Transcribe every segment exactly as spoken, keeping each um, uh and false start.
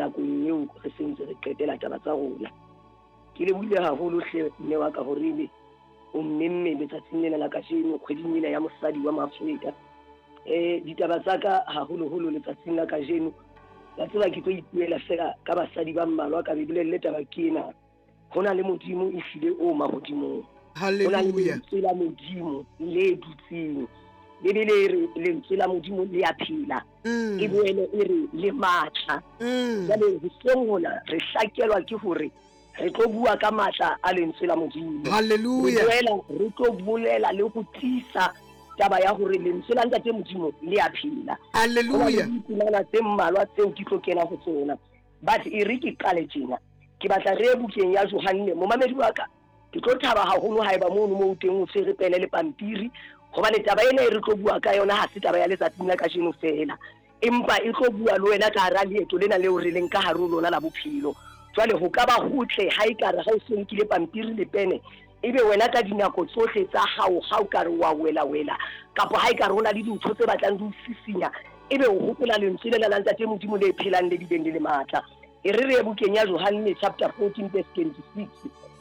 Nakong eo re sentse re qetela taba tsa rona. Ke lebohile haholo hle mme wa ka hore ebe o mmemme letsatsing lena la kajeno kgweding ena ya mosadi wa Maafrika. Eh ditaba tsa ka haholoholo letsatsing la kajeno, wa tseba ke tlo ipuela fela ka basadi ba mmalwa ka be bolelle taba ke ena. Ho na le Modimo ehlile o mahodimong. Ho na le Hallelujah. lentswe la Modimo le dutseng. Bebele e re lentswe la Modimo le a phela. Mm. E boele e re le matla. Mm. Jwale hoseng hona re hlakelwa ke hore re tlo bua ka matla a lentswe la Modimo. Re Hallelujah. boela re tlo bolela le ho tiisa taba ya hore lentswe la Ntate Modimo le a phela. Ho na le Hallelujah. ditemana tse mmalwa tseo ke tlo kena ho tsona. But e re ke qale tjena. Ke batla re ye bukeng ya Johanne, momamedi wa ka. Ke tlo thaba haholo haeba mono moo teng o tshwere pene le pampiri, hobane taba ena e re tlo bua ka yona ha se taba ya letsatsing la kajeno fela, empa e tlo bua le wena ka hara leeto lena leo re leng ka hare ho lona la bophelo. Jwale ho ka ba hotle ha ekare ha o so nkile pampiri le pene, ebe wena ka dinako tsohle tsa hao ha o ka re wa wela wela, kapa ha ekare ho na le dintho tse batlang di o sisinya, ebe o hopola lentswe lena la Ntate Modimo le phelang le bileng le le matla. E re re ye bukeng ya Johanne chapter fourteen verse twenty-six,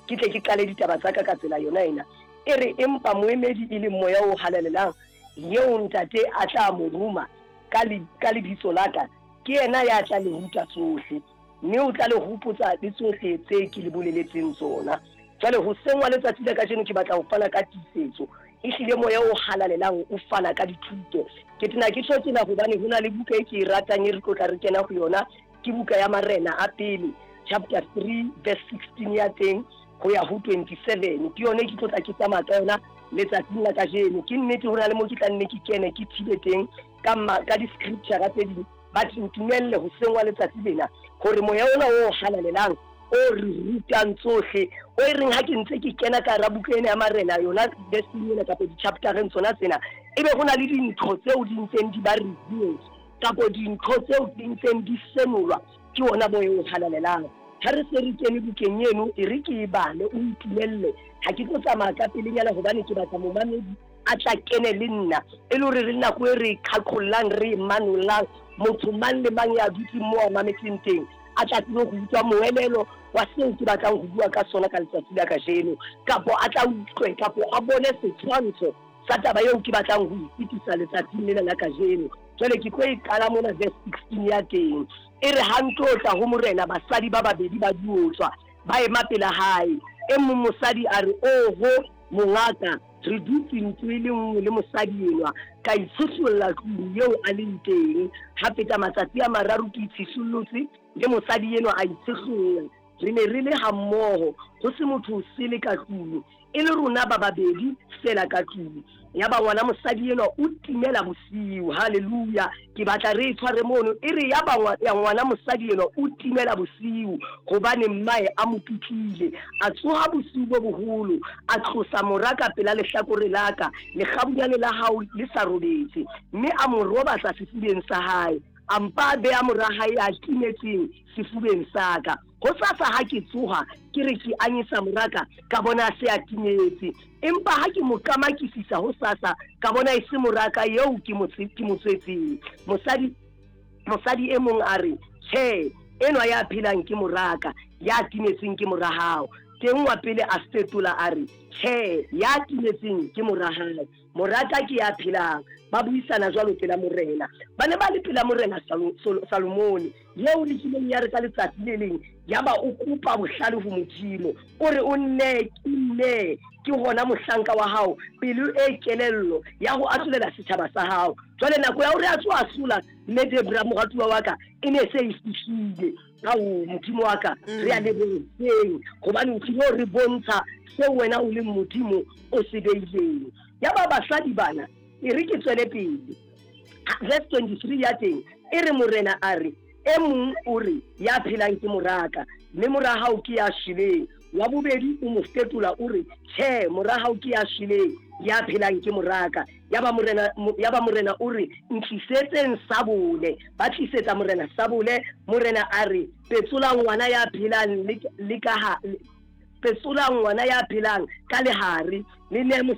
ke tle ke qale ditaba tsa ka ka tsela yona ena. E re empa moemedi e leng Moya o Halalelang, eo Ntate a tla mo roma ka le-, ka lebitso la ka, ke yena ya tla le ruta tsohle, mme o tla le hopotsa le tsohle tse ke le boleletseng tsona. Jwale hoseng wa letsatsi la kajeno ke batla ho fana ka tiisetso. Ehlile Moya o Halalelang o fana ka dithuto. Ke tena ke tjho tjena hobane ho na le buka e ke e ratang e re tlo tla re kena ho yona, ke buka ya Marena a pele chapter three verse sixteen ya teng ho ya ho twenty-seven. Ke yone ke tlo tla ke tsamaya ka yona letsatsing la kajeno. Ke nnete ho na le mo ke tla nne ke kene ke thibe teng ka ma-, ka di-scripture tse ding, but ntumelle hoseng wa letsatsi lena hore Moya ona o Halalelang o re rutang tsohle, o e reng ha ke ntse ke kena ka hara buka ena ya Marena yona verse ena kapa di-chaptereng tsona tsena, ebe ho na le dintho tseo di ntseng di ba revealed kapa dintho tseo di ntseng di senolwa ke ona Moya o Halalelang. Ha re se re kene bukeng eno, e re ke e bale, o ntumelle. Ha ke tlo tsamaya ka pelenyana hobane ke batla momamedi a tla kene le nna, e le hore re nako e re qhaqhollang, re e manollang, motho mang le mang ya dutseng moo a mametseng teng a tla tsebe ho utlwa moelelo wa seo ke batlang ho bua ka sona ka letsatsi la kajeno, kapo a tla utlwe kapo a bone setshwantsho sa taba eo ke batlang ho e fetisa letsatsing lena la kajeno. Jwale ke tlo e qala mona verse sixteen ya teng. E re ha ntlo tla ho morena basadi ba babedi ba diotswa ba ema pela hae. E mong mosadi a re, oho mongaka, re dutse ntlo e le nngwe le mosadi enwa, ka itshosolla tlung eo a leng teng. Ha feta matsatsi a mararo ke itshisollotse le mosadi enwa a itshosolla. Re ne re le ha mmoho, ho se motho o sele ka tlung, e le rona ba babedi fela ka tlung. Yaba ngwana mosadi enwa o timela bosiu. Hallelujah. Ke batla re e tshware mono. E re yaba ngwa-, ya ngwana mosadi enwa o timela bosiu hobane mmae a mo pitlile. A tsoha bosiu bo boholo, a tlosa mora ka pela lehlakore la ka, lekgabunyane la hao le sa robetse, mme a mo robatsa sefubeng sa hae. A mpa a beha mora hae a timetseng sefubeng sa ka. Hosasa ha ke tsoha, ke re ke anyesa moraka, ka bona a se a timetse. Empa ha ke mo qamakisisa hosasa, ka bona e se moraka eo ke mo tse-, ke mo tswetseng. Mosadi, mosadi e mong a re, tjhe, enwa ya phelang ke moraka, ya timetseng ke mora hao. Teng wa pele a fetola a re, tjhe, ya timetseng ke mora hao, moraka ke ya phelang. Ba buisana jwalo pela morena. Ba ne ba le pela morena Salo-, Salo-, Salomone, eo le kileng ya re ka letsatsi le leng, yaba o kopa bohlale ho Modimo. O re o nne, ke nne, ke hona mohlanka wa hao, pelo e kelello ya ho ahlolela setjhaba sa hao. Jwale nako ya hore a tsoha a sola, mme Debra moratuwa wa ka, e ne se e fihlile. Ao, Modimo wa ka, Mm. re a leboheng, hobane o tlilo re bontsha seo wena o leng Modimo o se beileng. Yaba basadi bana, e re ke tswele pele. Verse twenty-three ya teng, e re morena a re, e mong o re, ya phelang ke moraka, mme mora hao ke ya shweleng. Wa bobedi o mo fetola o re, tjhe, mora hao ke ya shweleng, ya phelang ke moraka. Yaba morena, yaba morena o re, ntlisetseng sabole. Ba tlisetsa morena sabole. Morena a re, petsola ngwana ya phelang le, le ka ha, petsola ngwana ya phelang ka lehare, le ne mosadi